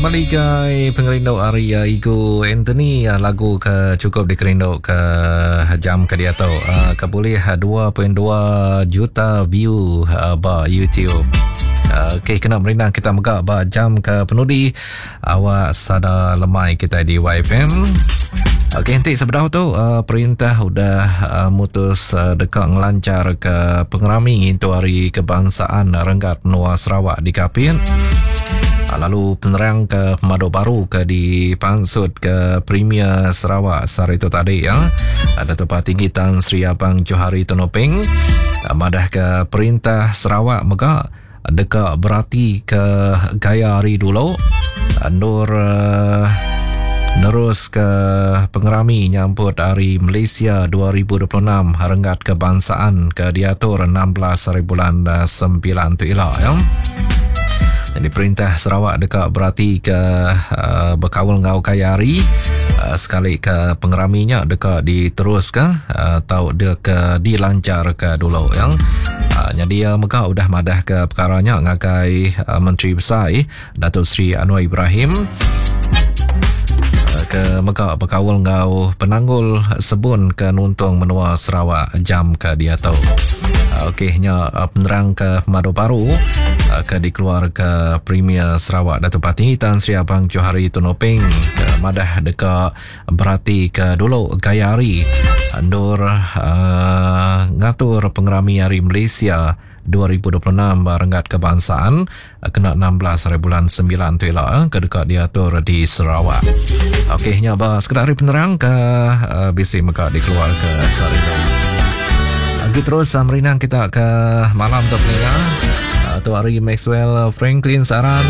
Maligai pengerindu ari uh, Igu Anthony uh, lagu ke cukup dikerindu ke jam ke diatu uh, ke bulih 2.2 juta view uh, ba YouTube. Uh, Okey kena merindang kita mega ba jam ke penudi awak sada lemai kita di YFM. Okey enti sebedau tu uh, perintah udah uh, mutus uh, deka ngelancar ke pengerami ngintu hari kebangsaan renggat menua Sarawak di Kapit. Lalu penerang ke pemadu baru ke dipansut ke Premier Sarawak sehari itu tadi ya. Datuk Patinggi Tan Sri Abang Johari Tun Openg madah ke perintah Sarawak mega deka berati ke gaya hari dulu endur uh, nerus ke pengerami nyamput hari Malaysia 2026 renggat kebangsaan ke diatur 16 hari bulan 9 eh, tu ila ya. Jadi perintah Sarawak deka berati ke uh, bekaul enggau gaya hari uh, sekali ke pengeraminya deka diteruska uh, atau deka dilancarka dulu ya. Uh, jadi uh, mega udah madah ke perkara nya ngagai uh, Menteri Besai Datuk Seri Anwar Ibrahim uh, ke mega bekaul enggau penanggul sebun ke nuntung menua Sarawak jam ke diatu. Okey nya penerang ke pemadu baru ke dikeluar ke Premier Sarawak Datuk Patinggi Tan Sri Abang Johari Tun Openg ke madah deka berati ke dulu gaya hari endur uh, ngatur pengerami Hari Malaysia 2026 ba renggat kebangsaan kena 16 hari bulan 9 tu ila ke deka diatur di Sarawak. Okey nya ba sekeda hari penerang ke uh, bisi mega dikeluar ke sehari tu. Agi terus uh, merinang kita ke malam tu peninga. Uh, tu hari Maxwell Franklin Saran.